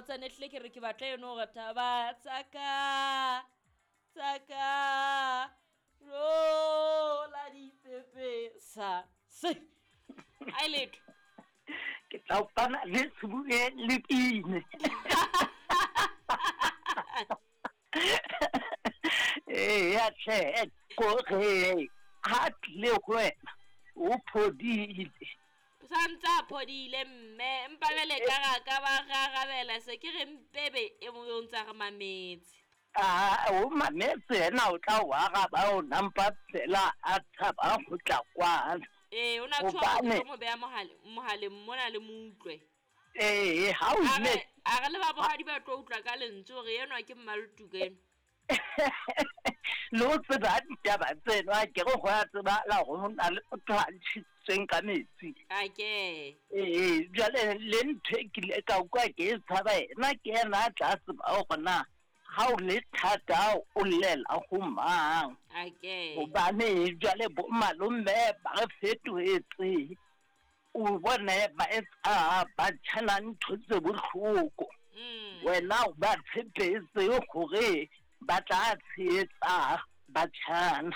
botsa ne hlile ke re ke batla eno hore taba tsaka tsaka rola dipepesa se a letho. Ke tla o pana le sebue le pine. Eya tlhe, kore ha tlile go wena o phodile. Santse a phodile mme empa jwale ka ra ka ba ra arabela se ke re mpebe e mong o ntse a re mametse. A o mametse yena o tla o araba o nampa fela a tshaba go tla kwana. Ee, o na tshwa Hobane- mo beha mohaleng mona le mo utlwe. Ee, ha o A ile re le ba bohadi ba tlo utlwa ka lentswe hore enwa ke mmaltuka enwa. Le o tseba ditaba tseno a ke re go a tsebala gore ho na le motho a ntšhitsweng ka metsi. A ke. Ee, jwale le ntho e kile ka utlwa ke e tshaba ena ke ena a tla tseba hore na ha o le thata o llela ho mang. A ke. Hobane jwale bo malome ba re fetohetse, o bone ba etsa ba tjhana ntho tse bohloko. Wena o ba tshepetse hore ba tla tshehetsa batjhana.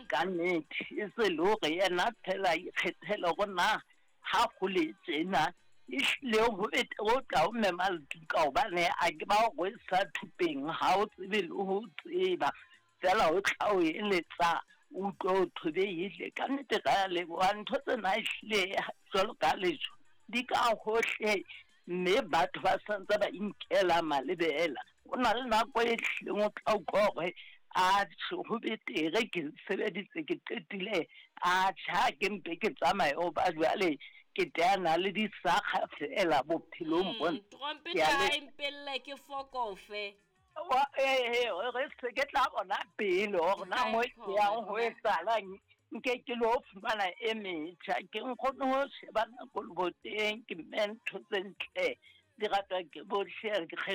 Ka nnete e se le hore yena phela ikgethele hore na ha go le tjena ehlile ho betere o tla o mema letuka hobane a ke ba o rwesa thupeng ha o tsebe le ho tseba fela o tla o eletsa o utlwe o thobehile. Ka nnete ra leboha ntho tsena ehlile jwalo ka lejwe di ka hohle mme batho ba santse ba inkela malebela. O na le nako e hlileng o tla utlwa hore a tjhe ho betere ke sebeditse ke qetile a tjhe ha ke mpe ke tsamaye hoba jwale ke teana le disakga fela bophelong bona. Trompete Ke a ha le- e mpelle ke fokofe. Ee, re se ke tla bona pele hore na mo ke yang ho etsahalang nke ke lo fumana e metjha ke nkgone ho sheba nako leboteng ke mme ntho tse ntle di ratwa ke bohle.